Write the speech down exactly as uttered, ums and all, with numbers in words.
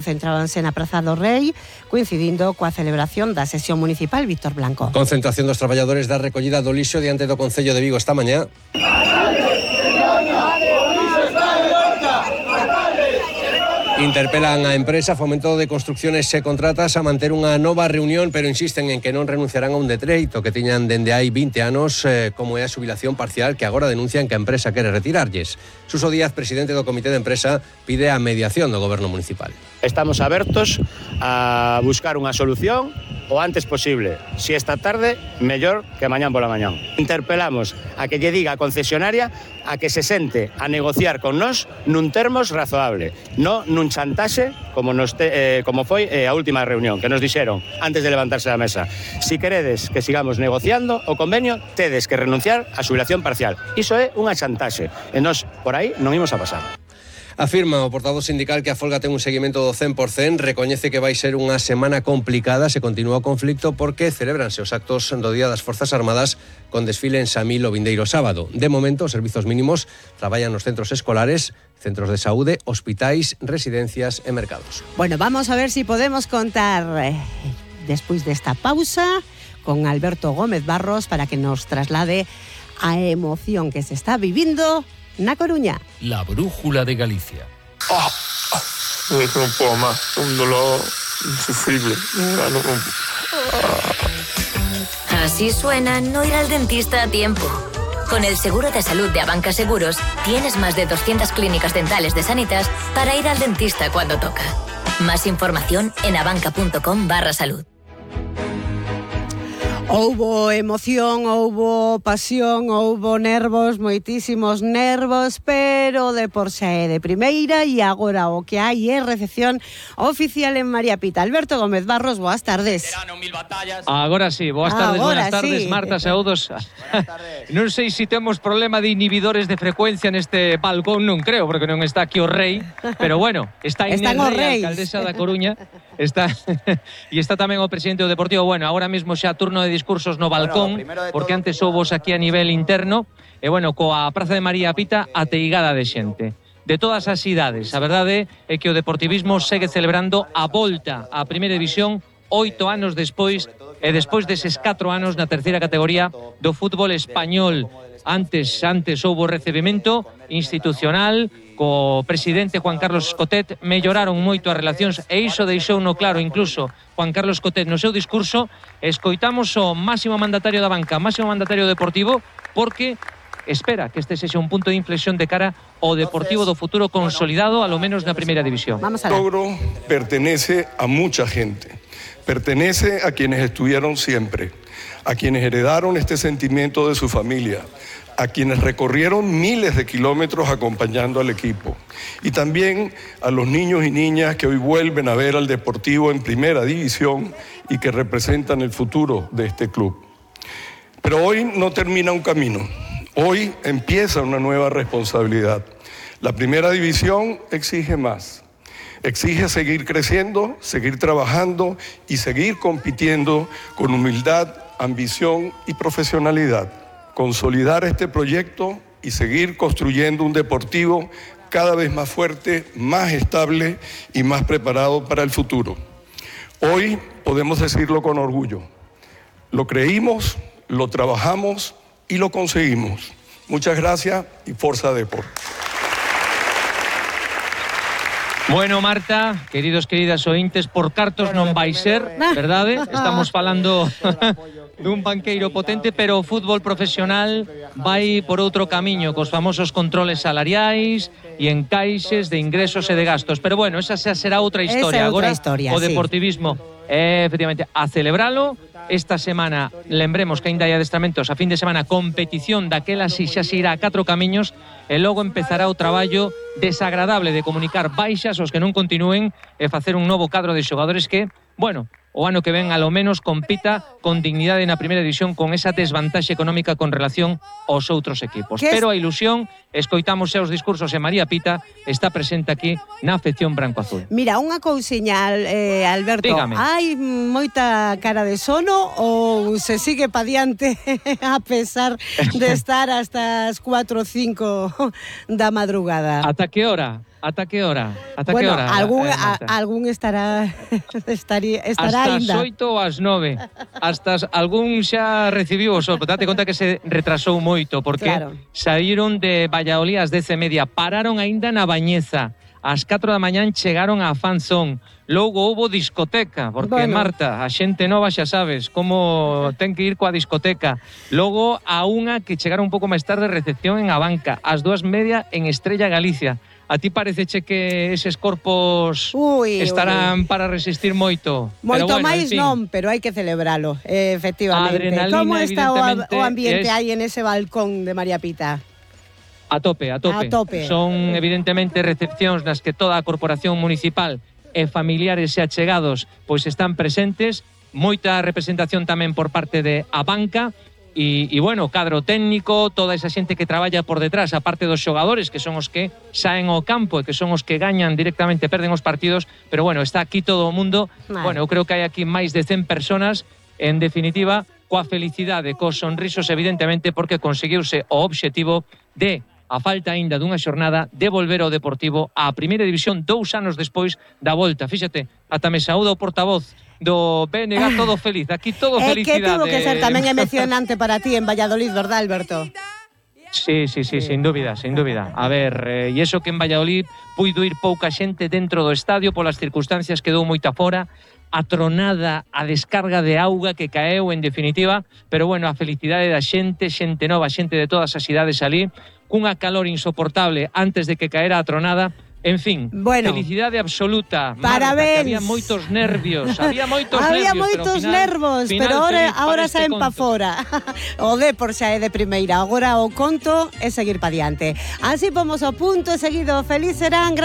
Centrábanse na Praza do Rei, coincidindo coa celebración da sesión municipal. Víctor Blanco. Concentración dos traballadores da recollida do lixo diante do Concello de Vigo esta mañá. Interpelan a empresa Fomento de Construcciones e Contratas a manter unha nova reunión, pero insisten en que non renunciarán a un decreto que tiñan dende hai vinte anos, eh, como é a xubilación parcial, que agora denuncian que a empresa quere retirarlles. Suso Díaz, presidente do Comité de Empresa, pide a mediación do Goberno Municipal. Estamos abertos a buscar unha solución o antes posible. Si esta tarde, mellor que mañán pola mañán. Interpelamos a que lle diga a concesionaria a que se sente a negociar con nós nun termos razoable, non nun chantaxe como, nos te, eh, como foi eh, a última reunión, que nos dixeron antes de levantarse da mesa. Si queredes que sigamos negociando o convenio, tedes que renunciar á xubilación parcial. Iso é unha chantaxe, e nós por aí non imos a pasar. Afirma o portavoz sindical que a folga ten un seguimento do cen por cen, recoñece que vai ser unha semana complicada se continúa o conflicto porque celebranse os actos do Día das Forzas Armadas con desfile en Samil o vindeiro sábado. De momento, os servizos mínimos traballan nos centros escolares, centros de saúde, hospitais, residencias e mercados. Bueno, vamos a ver si podemos contar eh, despois desta pausa con Alberto Gómez Barros para que nos traslade a emoción que se está vivindo na Coruña. La brújula de Galicia. Oh, oh, no puedo más, un dolor insufrible. No, no, no. Así suena no ir al dentista a tiempo. Con el seguro de salud de Abanca Seguros, tienes más de doscientas clínicas dentales de Sanitas para ir al dentista cuando toca. Más información en abanca.com barra salud. Houbo emoción, houbo pasión, houbo nervos, moitísimos nervos, pero de por xa é de primeira e agora o que hai é recepción oficial en María Pita. Alberto Gómez Barros, boas tardes. Agora sí, boas tardes, Agora buenas tardes, sí. Marta, saúdos. Non sei se temos problema de inhibidores de frecuencia neste balcón, non creo, porque non está aquí o rei, pero bueno, está Inés Rei, alcaldesa da Coruña, está e está tamén o presidente do Deportivo. Bueno, agora mesmo xa turno de discursos no balcón, bueno, porque antes houbos aquí a nivel interno, e bueno, coa Praza de María Pita ateigada de xente de todas as idades. A verdade é que o deportivismo segue celebrando a volta á primeira división oito anos despois, e despois deses catro anos na terceira categoría do fútbol español. Antes, antes houbo recibimento institucional co presidente Juan Carlos Escotet, melloraron moito as relacións e iso deixou no claro incluso Juan Carlos Escotet no seu discurso. Escoitamos o máximo mandatario da banca, máximo mandatario deportivo, porque espera que este sexa un punto de inflexión de cara ao Deportivo do futuro consolidado, a lo menos na primeira división. El logro pertenece a mucha gente, pertenece a quienes estuvieron siempre, a quienes heredaron este sentimiento de su familia, a quienes recorrieron miles de kilómetros acompañando al equipo, y también a los niños y niñas que hoy vuelven a ver al Deportivo en primera división y que representan el futuro de este club. Pero hoy no termina un camino, hoy empieza una nueva responsabilidad. La primera división exige más, exige seguir creciendo, seguir trabajando y seguir compitiendo con humildad, ambición y profesionalidad. Consolidar este proyecto y seguir construyendo un Deportivo cada vez más fuerte, más estable y más preparado para el futuro. Hoy podemos decirlo con orgullo. Lo creímos, lo trabajamos y lo conseguimos. Muchas gracias y Forza Depor. Bueno, Marta, queridos, queridas ointes, por cartos non vai ser, verdade? Estamos falando dun banqueiro potente, pero o fútbol profesional vai por outro camiño, cos famosos controles salariais e encaixes de ingresos e de gastos. Pero bueno, esa xa será outra historia. Esa outra Agora, historia, o sí. deportivismo é, efectivamente, a celebralo. Esta semana, lembremos que ainda hai adestramentos, a fin de semana, competición daquela si xa se irá a catro camiños, e logo empezará o traballo desagradable de comunicar baixas aos que non continúen e facer un novo cadro de xogadores que, bueno, o ano que ven, alo menos, compita con dignidade na primeira división con esa desvantaxe económica con relación aos outros equipos. Pero a ilusión, escoitamos xa os discursos e María Pita está presente aquí na afección branco-azul. Mira, unha cousiña, eh, Alberto, dígame. Hai moita cara de sono ou se sigue pa diante a pesar de estar hasta as cuatro ou cinco da madrugada? Ata que hora? Ata que hora? Ata bueno, que hora? algún, eh, a, algún estará estaría, estará hasta ainda. as oito ou as nove. Hasta as, algún xa recibiu o sol. Date conta que se retrasou moito, porque Claro. saíron de Valladolid ás dez e media, pararon aínda na Bañeza. Ás catro da mañán chegaron a Fanzón. Logo houbo discoteca, porque Bueno. Marta, a xente nova xa sabes como ten que ir coa discoteca. Logo a unha que chegaron un pouco máis tarde, recepción en Abanca. Ás dúas media en Estrella Galicia. A ti pareceche que eses corpos Ui, estarán ui. para resistir moito? Moito Pero bueno, máis en fin. non, pero hai que celebralo, eh, efectivamente. Adrenalina, Como está o, evidentemente, o ambiente es- aí en ese balcón de María Pita? A tope, a tope. A tope. Son evidentemente recepcións nas que toda a corporación municipal e familiares e achegados pois están presentes, moita representación tamén por parte de Abanca e, e bueno, cadro técnico, toda esa xente que traballa por detrás, a parte dos xogadores que son os que saen ao campo e que son os que gañan directamente, perden os partidos, pero bueno, está aquí todo o mundo. Vale. Bueno, eu creo que hai aquí máis de cen personas, en definitiva, coa felicidade, cos sonrisos evidentemente, porque conseguiuse o obxectivo de, a falta aínda dunha xornada, de volver ao Deportivo á Primeira División dous anos despois da volta. Fíxate, ata me saúda o portavoz do B N G, todo feliz. Aquí todo É que felicidade. tuvo que ser tamén emocionante para ti en Valladolid, verdad, Alberto? Sí, sí, sí, sin dúbida, sin dúbida. A ver, eh, e iso que en Valladolid puido ir pouca xente dentro do estadio polas circunstancias, quedou moita fora, a tronada, a descarga de auga que caeu, en definitiva, pero bueno, a felicidade da xente, xente nova, xente de todas as idades ali, cunha calor insoportable antes de que caera a tronada. En fin, Bueno. felicidade absoluta. Parabéns. Marta, que había moitos nervios, había moitos Había nervios, moitos pero ao final, nervos, final pero ahora, feliz para ahora este saen pa conto. fora. O Depor xa é de primeira, agora o conto é seguir pa diante. Así pomos o punto seguido. Feliz serán.